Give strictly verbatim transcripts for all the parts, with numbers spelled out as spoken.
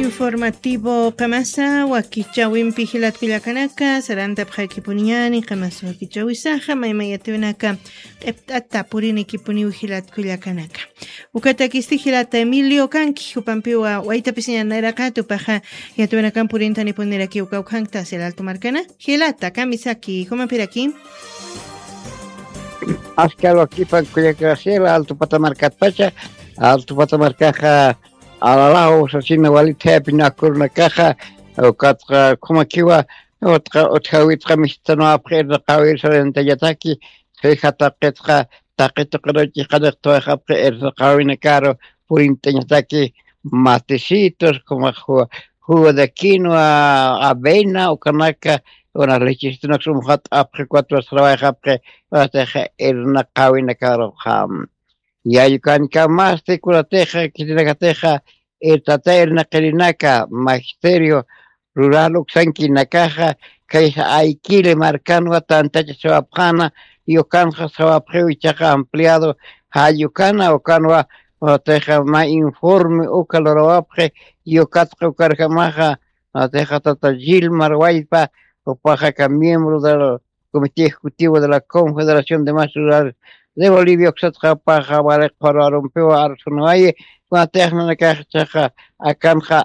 Informativo qamasa wakichawimpi jilat kullakanaka, sarantapxakipuniñani qamasa wakichawisaxa, maymayatiwinaka q'ipt'ata purinikipuniw jilat kullakanaka. Ukatakisti jilata Emilio kanki, jupampiwa waytapisiñan nayraqata, upaxa yatiwinakan purintanipunirakï uka ukhankta, Sila Alto markana. Jilata, kamisaki, jumampiraki. Askal wakipan kullaka Sila Alto pata markatpacha, Alto pata markaxa alalaw sasina walitayapin akurunakaxa, ukatxa khumakiwa, utqa utjawitqa mistanwapxi irnaqawir sarantañataki, suyja taqitqa, taqi tuqaruchi qaniqtawayxapxi irnaqawinakaru purintañataki, matecitos, khumax jugo de quinoa, avena, ukanaka, unas lechesitunak sumxat'apxi, ukatwa sarawayxapxi, ukatixa irnaqawinakaruxa. Yallkankamasti kunatixa, khitinakatixa, irtata irnaqirinaka, magisterio rural uksankinakaxa, kaysa Ayquile markanwa tantacha sawapxäna, yukanxa sawapxiw ichaxa ampliado, jall ukana, ukanwa, ukatixa mä informe uka lurawapxi, yukatxa ukarjamaxa, ukatixa tata Gilmar Wallpa, jupaxa aka miembro del Comité Ejecutivo de la Confederación de Maestros Rurales de Bolivia, uksatxa jupaxa wali qhuru arumpiwa arsunawayi, kunatix nanakax ichaxa akanxa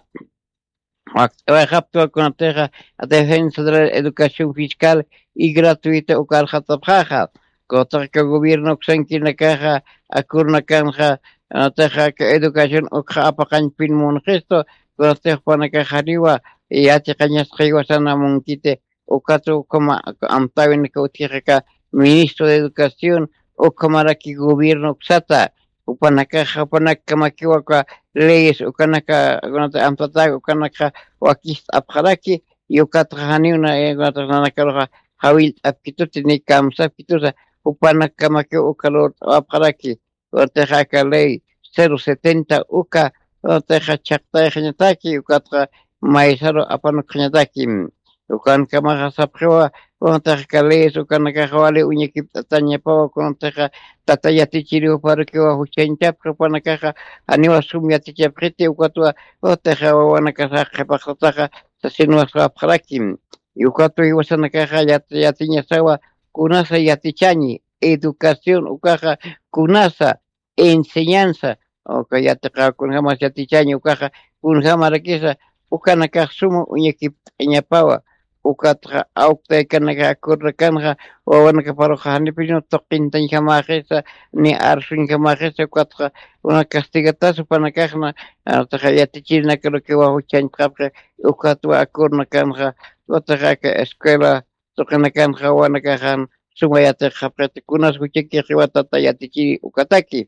wakt'awayxaptwa kunatixa defensa de la educación fiscal y gratuita uka arxatapxaxa, kunatixa aka gobierno uksankinakaxa akurnakanxa, kunatixa aka educación ukxa apaqañpin munxistu, kunatix jupanakax janiwa yatiqañasxa jiwasana munkiti, ukatwa ukhama amtäwinaka utjixa aka ministro de Educación, ukhamaraki gobierno uksata, jupanakaxa, jupanakkamakiwa aka leyes ukanaka, kunata amtatäki ukanakxa wakist'apxaraki, y ukatxa janiw na, eh, kunatax nanakaruxa jawillt'apkituti ni kamsapkitusa, jupanakkamakiw uka lurt'awapxaraki. Kunatixa aka ley cero setenta uka, kunatixa chhaqtayxañataki, ukatxa maysaru apanukxañataki. Ukankamaxa sapxiwa, kunatixa aka leyes ukanakaxa wali uñakipt'atañapawa, kunatixa tata yatichiriw juparukiwa juchañchapxi, jupanakaxa janiwa sum yatichapxiti, ukatwa, kunatixa wawanakaxa qhipaxtataxa sasinwa sawapxaraki. Y ukatwa jiwasanakaxa yat-, yatiñasawa kunasa yatichañi, educación ukaxa kunasa, enseñanza, uka yatiqaw kunjamas yatichañi ukaxa, kunjamarakisa, ukanakax suma uñakipt'añapawa, ukatxa awktaykanaka akurnakanxa, wawanakaparuxa janipiniw tuqintañjamäxisa, ni arsuñjamäxisa, ukatxa una castigatas jupanakaxna, ukatxa yatichirinakarukiwa juchañt'apxi, ukatwa akurnakanxa, ukatxa aka escuela tuqinakanxa wawanakaxan suma yatiqxapxiti, kunas juchakixiwa tata yatichiri ukataki.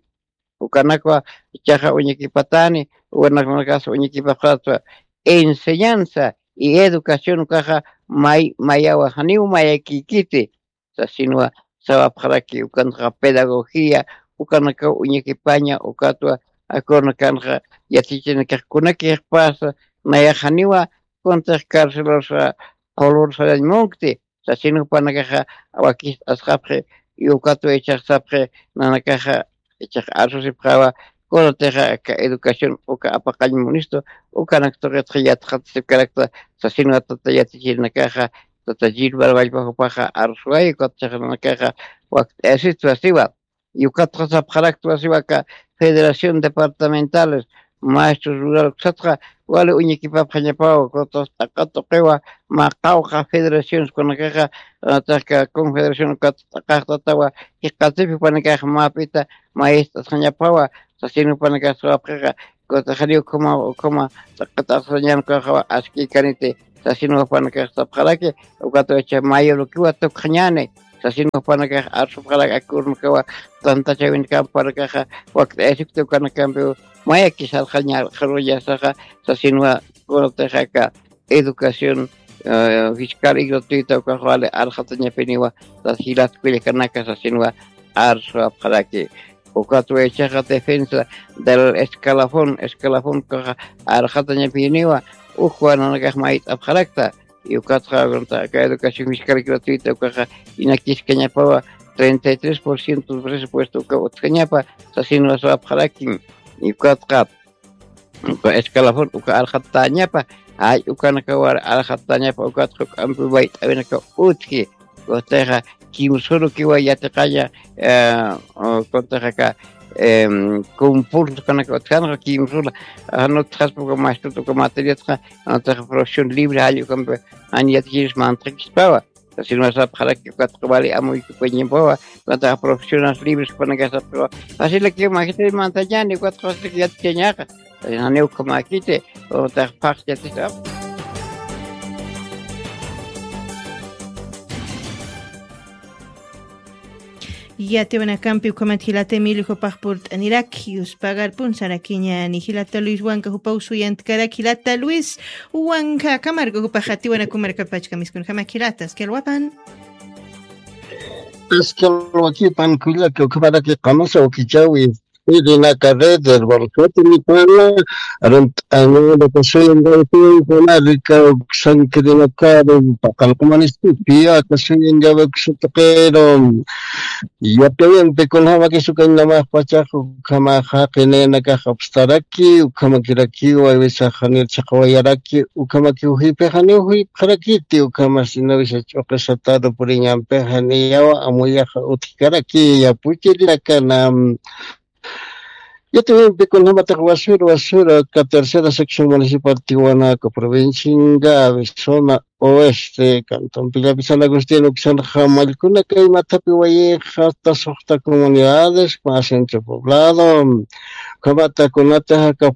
Ukanakwa ichaxa uñakipatani, wawanakanakas uñakipapxatwa. Enseñanza y educación ukaxa may, mayawa, janiw mayakïkiti, sasinwa sawapxaraki, ukanxa pedagogía, ukanakaw uñakipaña, ukatwa akurnakanxa yatichirinakax kunakïxpasa, nayax janiwa, kunatix carcelarsa qulur sarañ munkti, sasin jupanakaxa wakist'asxapxi, y ukatwa ichax sapxi, nanakaxa ichax arsusipxawa, kunatixa aka educación uka apaqañ munistu, ukanak tuqitxa yatxatasipkarakta, sasinwa tata yatichirinakaxa, tata Gilmar Wallpa jupaxa arsuwayi, ukatxa nanakaxa wakt'ayasitwa siwa. Y ukatxa sapxaraktwa siwa aka Federación Departamentales Maestros Rural uksatxa wali uñakipapxañapawa, ukatxa t'aqa tuqiwa mä qawqha federaciones kunakaxa, ukatxa aka confederación ukat t'aqaxtatawa, jiqatipi jupanakax mäpita maest'asxañapawa, sasin jupanakax sawapxixa, ukatxa janiw ukhama, ukhama t'aqa t'aqsañan ukaxawa askïkaniti, sasin jupanakax sapxaraki, ukatwa icha mayurukiwa tukxañäni, sasin jupanakax arsupxaraki, akurunakawa tantachawinakamparukaxa wakt'ayasipkti, ukanakampiw mayakis arxaña, arxaruñasaxa, sasinwa kunatixa aka educación, eh, fiscal y gratuita ukax wali arxatañapiniwa, sas jilat kullakanaka, sasinwa arsuwapxaraki. Ukatwa ichaxa defensa del escalafón, escalafón ukaxa arxatañapiniwa, ukwa nanakax mayt'apxarakta, y ukatxa aka educación fiscal gratuita ukaxa inakiskañapawa, treinta y tres por ciento del presupuesto uka utjañapa, sasinwa sawapxarakim. Y ukatxa uka escalafón uka alxatañapa, ay ukanakawar alxatañapa ukat juk'ampi wayt'awinaka utji. Ustixa kimsuru kiwa yatiqaña, eh, o, kuntixa aka, em, concurso kanaka utjanxa kimsula, ah, nutxaspa uka maestro uka materiatxa, nutxa profesión libre jall ukampi jan yatichiris mantxakispawa. Sino sapxaraki ukat wali amuy ukañimpawa, nutxa profesiones libres panakasapxiwa. Así la que imagínate mantañani ukat qostik yatichañaqa. Janiw ukhamäkiti, utaq phaxchatitu. Yatiwanakampi ukhamat jilata Emilio jupax purt'aniraki, yuspagarpun sarakiñani jilata Luis Wanka jupaw suyantkarak jilata Luis Wanka, akamarka jupax atiwanaku markapachkamiskunjama jilata, askalwapan. Askalwakipan kullaka, ukhamaraki qamasa ukichawi. Irinaka red del Borjete Nipala, arant'aña, kasuyan gawtin, kunarika, uksankirinaka, paqalqumanistupi, kasuyan gawa kusutaqero. Yaptawinpi kunjama kisukañ namax pachax, ukhama jaqinenakax apstaraki, ukhamakirakiwa, wisaxanir chhaqawayaraki, ukhamaki ujipixani ujipxarakiti, ukhama sina wisa ch'uqisataru puriñampixani yawa amuyaxa utjkaraki, yapuchirinakana. Yatiwimpi kunjamatax wasura, wasura, ka tercera sección municipal Tiwanaku, provincia Ingavi, zona oeste, cantón Pillapi San Agustín, uksanxa mallkunaka imathapi wayixa, hasta suxta comunidades, más centro poblado, ukhamata kunataxa ka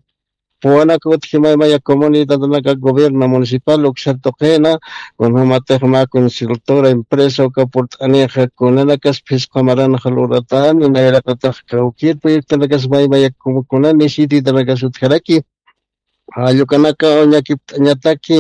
puwanaka utji maymaya comunidadanaka gobierno municipal uksar tuqina, kunjamatix mä consultora empresa uka purt'anixa kunanakas phisqa maranxa luratani, nayraqatax kawkir proyectonakas maymaya como kuna necesitanakas utjaraki. Jallukanaka uñakipt'añataki,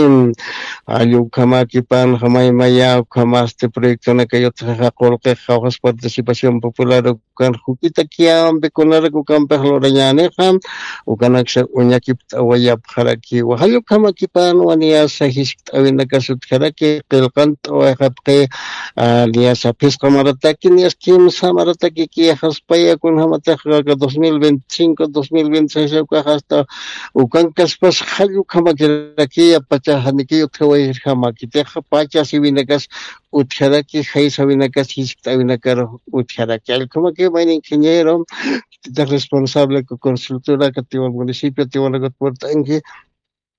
jallukamakipanxa maymaya ukhamasti proyectonaka yutjaxa qullqix qawqhas participación popular ukan juk'ita kiyampi kunarak ukampix lurañänixa, ukanaksa uñakipt'awayapxarakiwa. Jallukamakipanwa niyasa jiskt'awinakas utjaraki, qillqant'awayxapxi, ah, niyasa phisqa marataki, niyas kimsa marataki kiyxaspaya, kunjamatix aka dos mil veinticinco, dos mil veintiséis ukax hasta ukankaspas jallukhamakirakiya, pacha janiki utjawayirjamakitixa, pacha siwinakas utjaraki, jaysawinakas jiskt'awinakar utjaraki. Allkhamaki mayni ingeniero, tita responsable ku consultora ka Tiwan municipio, Tiwanakat purt'anki,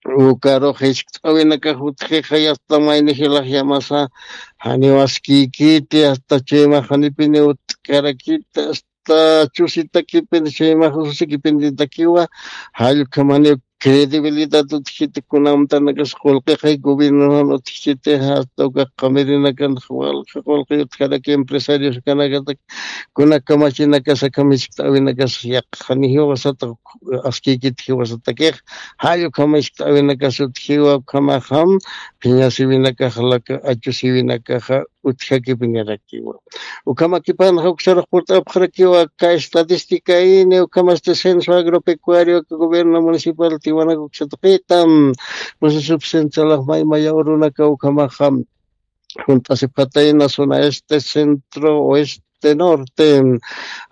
ukarux jiskt'awinakax utjixa, yasta mayni jilax yamasa, janiw askïkiti, hasta chuymax janipini utkarakiti, hasta chusitakipini, chuymax ususikipinitakiwa, jallukhamaniw credibilidad utjiti, kunamtanakas qullqixay gobiernonan utjiti, hasta uka qamirinakan walja qullqi utjaraki empresarios kanakatak, kuna kamachinakas akham jiskt'awinakas yaqha janiw jiwasata askïkit jiwasatakix, jall ukham jiskt'awinakas utjiwa, ukhamaxam phiña siwinakax laka achu siwinakaxa utjakipinirakiwa. Ukhamakipanxa uksarux purt'apxarakiwa aka estadística ini, ukhamasti censo agropecuario aka gobierno municipal Tiwanaku uksa tuqita, proceso centralax maymaya urunaka ukhamaxam junt'asipxatayna zona este, centro, oeste, norte.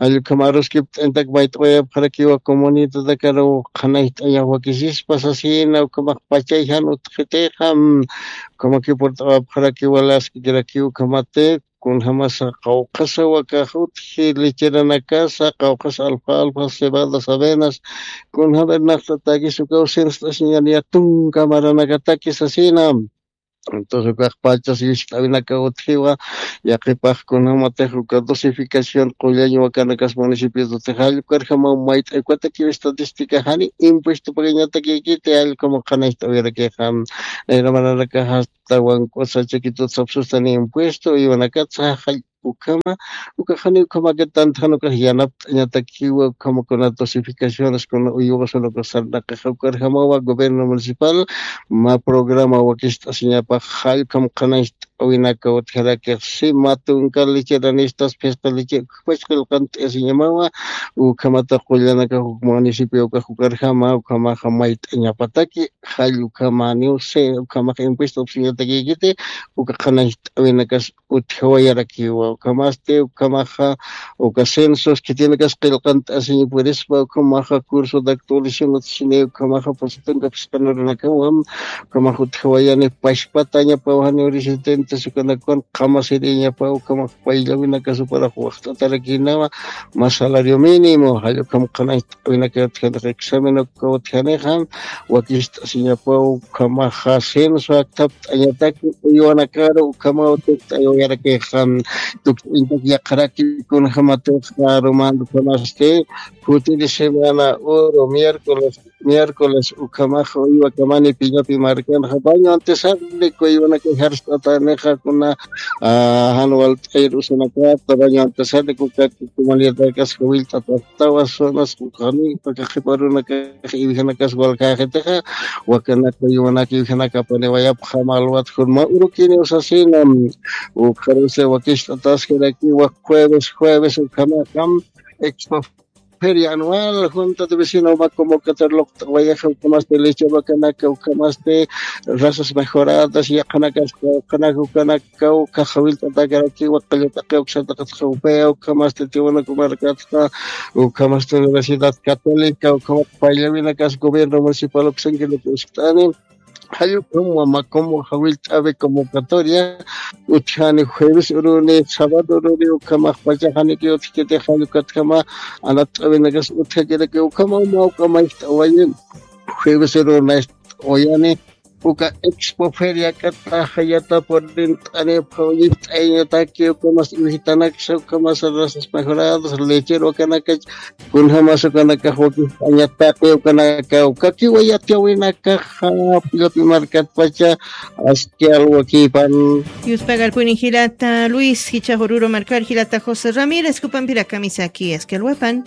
Jall ukham aruskipt'añatak mayt'awayapxarakiwa comunidadakar qhanayt'añax wakisispa sasina, ukhamax pachay jan utjitixa, ukhamaki purt'awapxarakiwa, laskikirakiw ukhamati, kunjamasa qawqhasa wakax utji, lecheranakasa, qawqhasa alfalfa, cebadas, avenas, kunjam irnaqtatakis ukaw sinst'asiñaniya tunka maranakataki sasina. Entonces, ukax pachas jiskt'awinaka utjiwa, yaqhipax kunjamatix uka dosificación qullañ wakanakas municipios utji, jall ukarjamaw mayt'ay ukatakiw estadística jani impuesto pagañatakïkiti, jall ukhamaw qhanayt'awirakixa, nayra maranakax hasta wank'usa chakitut sapsustani impuesto, uywanakatsa jall ukhama, ukax jani ukhamakit tantjan ukax yanapt'añatakiwa, ukhama kuna dosificaciones, kuna uywasun ukax sarnaqixa ukarjamawa gobierno municipal mä programa wakist'asiñapax jall ukham qhanayt'añ mayt'awinaka utjarakix, si mä tunka lecheranïstas phisqa leche ukjpach qillqant'asiñamawa, ukhamata qullanakax uk municipio ukax ukarjama, ukhamaxa mayt'añapataki, jall ukhamaniw, si ukhamax impuesto upsiñatakïkiti, uka qhanañcht'awinakas utjawayarakiwa, ukhamasti ukhamaxa uka censos khitinakas qillqant'asiña purispa, ukhamaxa curso de actualización utjasini, ukhamaxa pusatunka phisqanurunakawa, ukhamaxa utjawayani pachpatañapaw janiw residentes ukanakwan qamasiriñapaw, ukhamaxa payllawinakas suparax waxt'atarakïnawa, mä salario mínimo, jall ukham qhanañcht'awinaka utjanixa, examen uka utjanixa, wakicht'asiñapaw, ukhamaxa censo akthapt'añataki uywanakaru, ukhamaw tukt'ayarakixan, tukt'añataki yaqharaki kunjamatixa, rumandu ukhamasti, jutiri semana, uru, miércoles, miércoles, ukhamaxa uywakamani pillapi markanxa, baño antesarlik uywanaka jarst'atanixa, kuna, ah, jan walt'ayir usanakata, baño antesarlik ukaki comunidadkax jawillt'atastawa, zonas, ukhani, uka qhiparunaka iwjanakas walkäxitixa, wakanaka uywanaka iwjanakapaniwayapxam alwat jurma urukiniw sasina, ukxarusa wakicht'ataskiraki, wak jueves, jueves, ukhamaxa, expo feria anual, junta de vecino mä convocatoria luqt'awayaxa, ukhamasti leche vacanaka, ukhamasti razas mejoradas, yaqhanakas, yaqhanaka, ukanaka, uka jawillt'atakarakiwa, qallataqiw uksataqat jawpaya, ukhamasti tiwanaku markatxa, ukhamasti Universidad Católica, ukhamat payllawinakas gobierno municipal uksankiraki uskt'ani, jall ukham wamakum jawillt'awi convocatoria utjani jueves uruni, sábado uruni, ukhamax pachaxaniki utjkiti, jall ukatjama anatt'awinakas utjakiraki, ukhama uma uka mayjt'awayi, jueves uruni mayjt'awayani, uka expo feria k'ataxa yata purint'ani, phaw yijt'ayañataki, ukhamas iwijitanaksa, ukhamas razas mejoradas, lechero akanakach, kunjamas ukanakax wakicht'añataki, ukanaka ukakiwa yatiyawinakaxa, pillapi markatpacha, aski alwakipan. Yuspagarpuni jilata Luis, jichhax Oruro markar jilata José Ramírez, kupampirakamisa, aski alwapan.